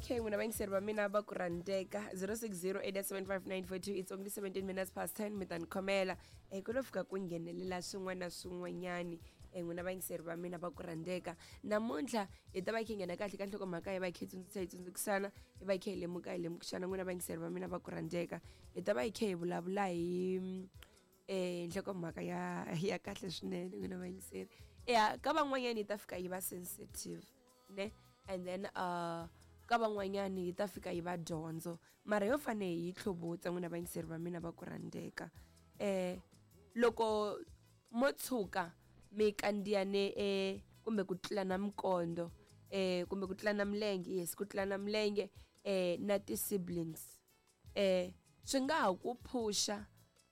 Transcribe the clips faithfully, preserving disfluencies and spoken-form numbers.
Okay, n'wina vayingiseri va mina va ku rhandzeka zero six zero eight seven five nine four two it's only seventeen minutes past ten mi ta ni khomela um ku lo fika ku nghenelela swin'wana na swin'wanyani um n'wina vayingiseri va mina va ku rhandzeka namuntlha hi ta va hi kha hi nghena kahle ka nhlokomhaka hi va hi kha hi tsundzuxa hi tsundzukisana hi va hi kha hi lemuka hi lemukisana n'wina vayingiseri va mina va ku rhandzeka hi ta va hi kha hi vulavula hi um nhlokomhaka ya ya kahle swinene n'wina vayingiseri ya ka van'wanyani yi ta fika yi va sensitive ne and then uh ka van'wanyani yi ta fika yi va dyondzo mara yo fane hi yi tlhuvutsa n'wina vayingiseri va mina va ku rhandzeka um loko mo tshuka mi kandziyane eh kumbe ku tlulana minkondo eh kumbe ku tlulana milenge yes ku tlulana milenge eh na ti-siblings eh swi nga ha ku phusha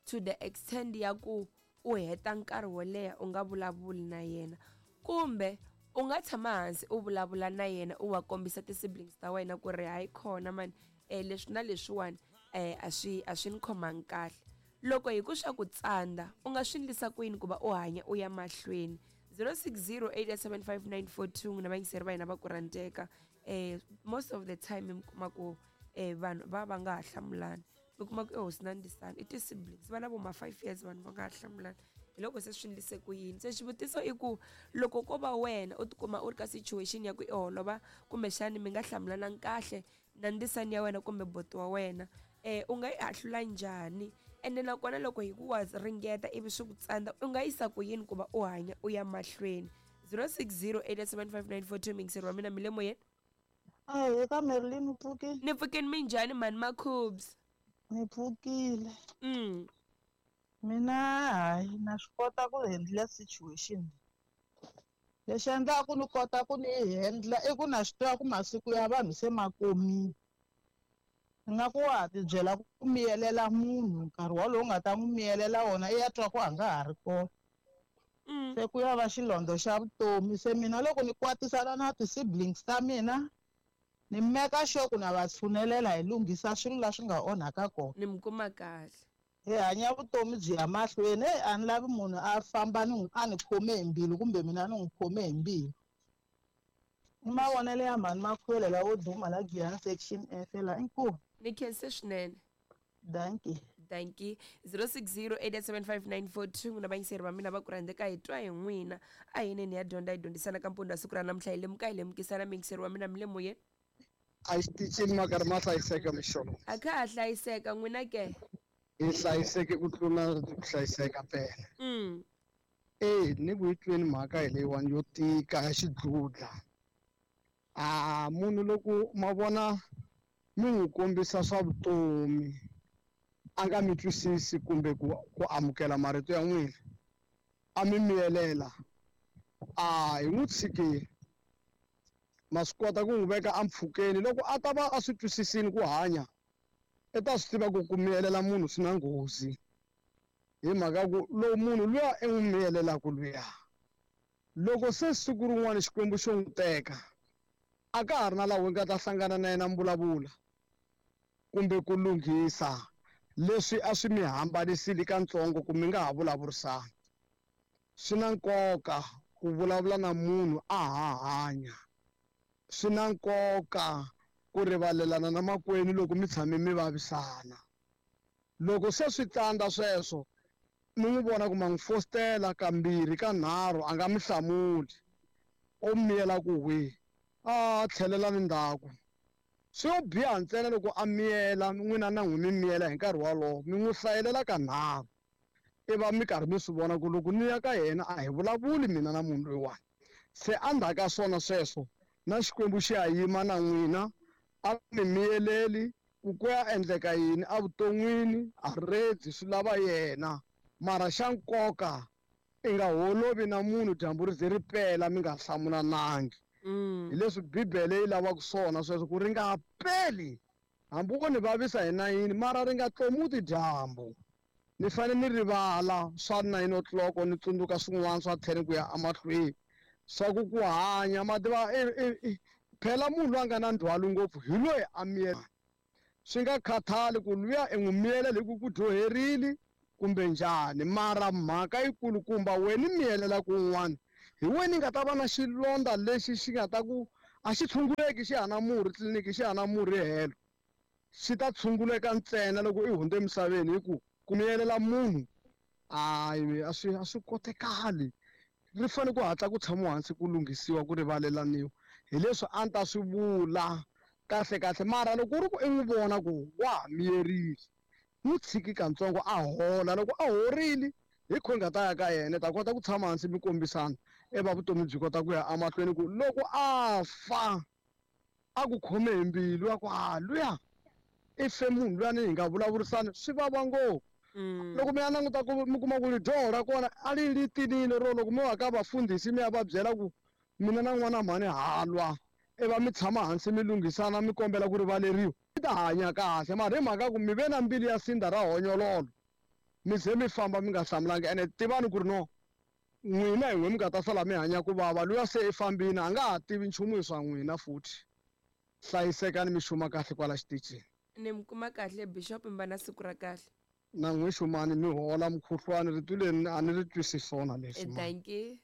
to the extent ya ku u heta nkarhi wo leha u nga vulavuli na yena kumbe u nga tshama hansi u vulavula na yena u wa kombisa ti-siblings ta wena ku ri hayi khona mani um leswi na leswiwani um a swi a swi ni khomangi kahle loko hi ku swa ku tsandza u nga swi endlisa ku yini ku va u hanya u ya mahlweni zero six zero eight seven five nine four two n'wina vayingiseri va hina va ku rhandzeka um most of the time mi kuma ku um vanhu va va nga ha hlamulani mi kuma ku i hosi na ndisana i ti-siblings va na vo ma five years vanhu va nga ha hlamulani hi loko se swi endlise ku yini se xivutiso i ku loko ko va wena u tikuma u ri ka situation ya ku i holova kumbexani mi nga hlamulanangi kahle na ndisani ya wena kumbe boti wa wena um u nga yi ahlula njhani ende nakona loko hi ku wa ringeta ivi swi ku tsandza u nga yisa ku yini ku va u hanya u ya mahlweni zero six zero eight seven five nine four two mingiseri wa mina mi le moyeni Ahee ka Marilyn u pfukile ni pfukeni minjhani mhani Makhubs ni pfukile mm mina hayi na swi kota ku handle situation lexi endlaku ni kota ku ni yi handle i ku na swi tiva ku masiku ya vanhu se ma komile ingaku wa ha tibyela ku miyelela munhu nkarhi wolowo u nga ta n'wi miyelela wona i ya twa ku a nga ha ri kona mm se ku ya va xilondza xa vutomi se mina loko ni kwatisana na ti-siblings ta mina ni meka sure ku na va tshunelela hi lunghisa swilo la swi nga onhaka kona ni mi kuma kahle hi hanya vutomi byi ya mahlweni heyi a ni lavi munhu a famba ni n'wi a ni khome hi mbilu kumbe mina ni n'wi khome hi mbilu i mavonelo ya mhani Makhwela lawo duma la Giyani section F la inkomu ni khense swinene dankie dankie zero six zero eight seven five nine four two n'wina vayingiseri va mina va ku rhandzeka hi twa hi n'wina a hi neni ya dyondza hi dyondzisana ka mpfundo wa siku ra namuntlha hi lemuka hi lemukisana muyingiseri wa mina mi le moyeni a xitichini ma karhi ma hlayiseka mixolo a kha ha hlayiseka n'wina ke hi hlayiseke ku tlula ku hlayiseka phela mm e ni ku yi tweni mhaka hi leyiwani yo tika ya xidludla a munhu loko ma vona mi n'wi kombisa swa vutomi a nga mi twisisi kumbe ku ku amukela marito ya n'wina a mi miyelela a hi n'wi tshikile ma swi kota ku n'wi veka empfhukeni loko a ta va a swi twisisini ku hanya i ta swi tiva ku ku miyelela munhu swi na nghozi hi mhaka ku loko munhu luya i n'wi miyelelaka luya loko se siku rin'wana Xikwembu xo n'wi teka a ka ha ri na laha u nga ta hlangana na yena mi vulavula kumbe ku lunghisa leswi a swi mi hambanisile katsongo ku mi nga ha vulavurisani swi na nkoka ku vulavula na munhu a ha hanya swi na nkoka ku rivalelana na makwenu loko mi tshame mi vavisana loko se swi tsandza sweswo mi n'wi vona ku ma n'wi fositela kambirhi ka nharhu a nga mi hlamuli o miyela ku hwi a tlhelela ni ndzhaku swi yo biha ntsena loko a miyela n'wina na n'wi mi miyela hi nkarhi wolowo mi n'wi hlayelela ka nharhu i va mi karhi mi swi vona ku loko ni ya ka yena a hi vulavuli mina na munhu loyiwani se endzhaku ka swona sweswo na Xikwembu xi ya yima na n'wina a mi miyeleli ku ku ya endleka yini evuton'wini a redzi swi lava yena mara xa nkoka i nga holovi na munhu dyambu ri ze ri pela mi nga hlamulanangi mm hi leswi bibele yi lavaka swona sweswo ku ri nga peli hambi wo ni vavisa hi nayini mara ri nga tlomuti dyambu ni fanele ni rivala swa nine o'clock ni tsundzuka swin'wana swa ten ku ya emahlweni swa ku ku hanya ma tiva phela munhu loyi a nga na ndzhwalo ngopfu hi loyi a miyela swi nga khathali ku luya i n'wi miyelela hi ku ku dyoherile kumbe njhani mara mhaka yikulukumba wena miyelela kun'wana hi wena i nga ta va na xilondza lexi xi nga ta ku A xi tshunguleki xi hana murhi tliliniki xi hana murhi helo. Xi ta tshunguleka ntsena loko i hundze emisaveni hi ku ku miyelela munhu a a swi a swi kotekali. Ri fanele ku hatla ku tshamiwa hansi ku lunghisiwa ku rivalelaniwa. Hi leswi a ni ta swi vula kahle kahle mara loko ku ri ku i n'wi vona ku wa ha miyerile n'wi tshiki katsongo a hola loko a horile hi kho nga ta ya ka yena ta kota ku tshama hansi mi kombisana eva vutomi byi kota ku ya emahlweni ku loko a fa a ku khome hi mbilu ya ku a luya i fe munhu luyani hi nga vulavurisani swi vava ngopfu. Loko mi ya languta ku mi kuma ku ri dyoho ra kona a ri ri tinile ro loko mi wa ka vafundhisi mi ya va byela ku mina na n'wana mhani halwa iva mi tshama hansi mi lunghisana mi kombela ku rivaleriwa mi ta hanya kahle mara hi mhaka ku mi ve na mbilu ya sindza ra honyololo mi ze mi famba mi nga hlamulangi ene tivani ku ri no n'wina hi n'we mi nga ta sala mi hanya ku vava luya se i fambini a nga ha tivi nchumu hi swa n'wina futhi. Hlayisekani mi xuma kahle kwala xitichini. Ni mi kuma kahle Bishop mi va na siku ra kahle. Na n'wi xumani mi hola mukhuhlwani rito leri a ni ri twisi swona leswi. Thank you.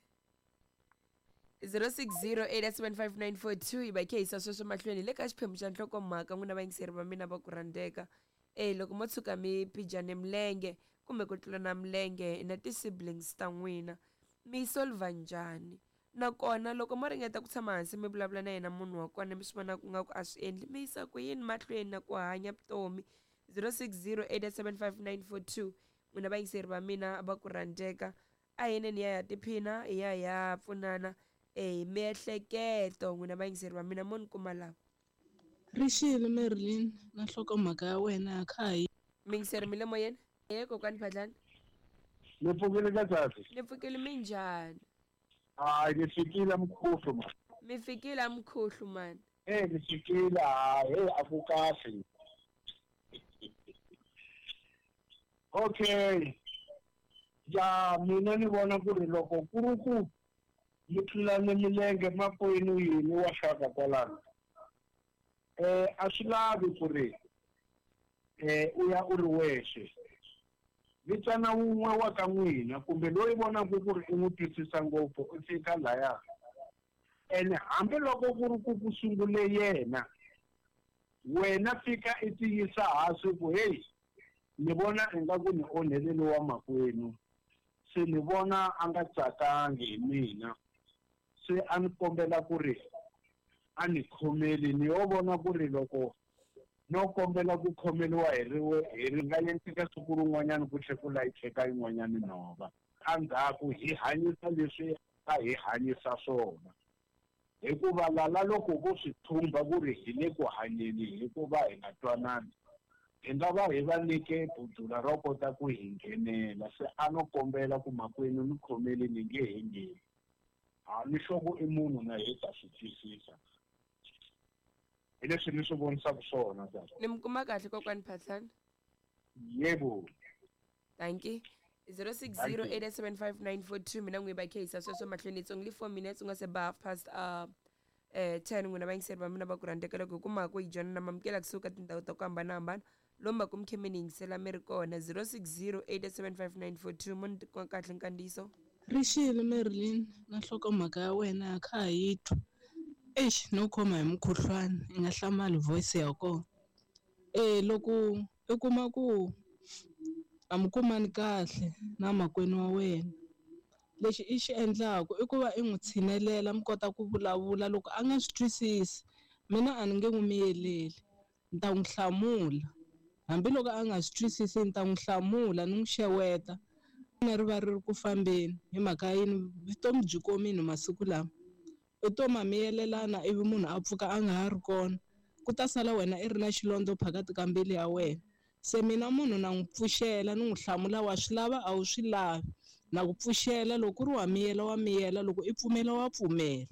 zero six zero eight seven five nine four two hi va khe hisa sweswo mahlweni le ka xiphemu xa nhlokomhaka n'wina vayingiseri va mina va ku rhandzeka. Eh loko mo tshuka mi phijane milenge kumbe ku tlulana milenge na ti-siblings ta n'wina mi solva njhani? Nakona loko mo ringeta ku tshama hansi mi vulavula na yena munhu wa kona mi swi vona ku nga ku a swi endli mi yisa ku yini mahlweni na ku hanya vutomi? zero six zero eight seven five nine four two n'wina vayingiseri va mina va ku rhandzeka a yineni ya ya tiphina hi ya hi ya pfunana eh miehleketo n'wina vayingiseri va mina mo ni kuma lava. Rixile Marilyn na nhlokomhaka ya wena kha hi miyingiseri mi le moyeni e kokwani Phatlani. Ni pfukile ka tsatsi. Ni pfukile minjhani? Hayi ni fikile mkhuhlu man. Mi fikile mkhuhlu man. Eh ni fikile hayi hey a ku kahle. Okay. Ya mina ni vona ku ri loko ku ri ku mi tlulane milenge makwenu yini wa xaka kwalano eh a swi lavi ku ri eh u ya u ri wexe vitana wun'we wa ka n'wina kumbe loyi vonaka ku ri i n'wi twisisa ngopfu u fika laya ene hambiloko ku ri ku ku sungule yena wena fika i tiyisa hansi ku heyi ni vona ingaku ni onhelele wa makwenu se ni vona a nga tsakangi hi mina se a ni kombela ku ri a ni khomeli ni yo vona ku ri loko no kombela ku khomeliwa hi riwe hi ri nga endleka siku rin'wanyana ku tlhe ku layicheka yin'wanyana nhova endzhaku hi hanyisa leswi a hi hanyisa swona hikuva lala loko vo swi thumba ku ri hi le ku hanyeni hikuva hi nga twanani hi nga va hi va nyike budula ro kota ku hi nghenela se a no kombela ku makwenu ni khomeli ni nge he ngheni a ni hloko i munhu na hi ta swi twisisa hi leswi ni swi vonisaka swona tata. Ni mi kuma kahle kokwani Phatlani? Yebo. Thank you. zero six zero eight seven five nine four two mina n'wi va khe hisa sweswo mahlweni it's only four minutes u nga se ba half past uh eh ten n'wina vayingiseri va mina va ku rhandzeka loko hi kuma ku hi joyina na mamukela kusuka tindhawu ta ku hambanahambana lomu va ku mi khe mi ni yingisela mi ri kona zero six zero eight seven five nine four two mo ni tikuma kahle nkandziyiso. Rixile Marilyn na nhlokomhaka ya wena kha hi twa. Eish no khoma hi mukhuhlwani i nga hlamali voice ya kona. Eh loko i kuma ku a mi kumani kahle na makwenu wa wena lexi i xi endlaku i ku va i n'wi tshinelela mi kota ku vulavula loko a nga swi twisisi mina a ni nge n'wi miyeleli ni ta n'wi hlamula hambiloko a nga swi twisisi ni ta n'wi hlamula ni n'wi xeweta na ri va ri ri ku fambeni hi mhaka yini vutomi byi komile masiku lama u to ma miyelelana ivi munhu a pfuka a nga ha ri kona ku ta sala wena i ri na xilondza phakathi ka mbilu ya wena se mina munhu na n'wi pfuxela ni n'wi hlamula wa swi lava a wu swi lavi na ku pfuxela loko ku ri wa miyela wa miyela loko i pfumela wa pfumela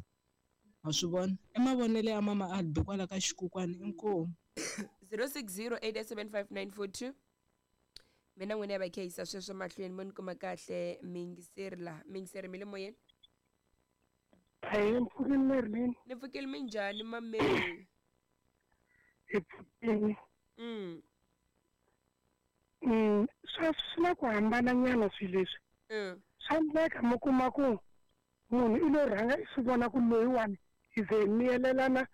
wa swi vona i mavonelo ya mama Albi kwala ka xikukwani inkomu. zero six zero eight seven five nine four two mina n'wina ya va khe hisa sweswo mahlweni mo ni kuma kahle miyingiseri laha miyingiseri mi le moyeni. Ahee ni pfukile Marilyn. Ni pfukile minjhani mameri? Hi pfukile. Mm. Mm, swa swi na ku hambananyana swilo leswi. Mm. Swa endleka mi kuma ku munhu i lo rhanga i swi vona ku loyiwani Hi ze hi miyelelana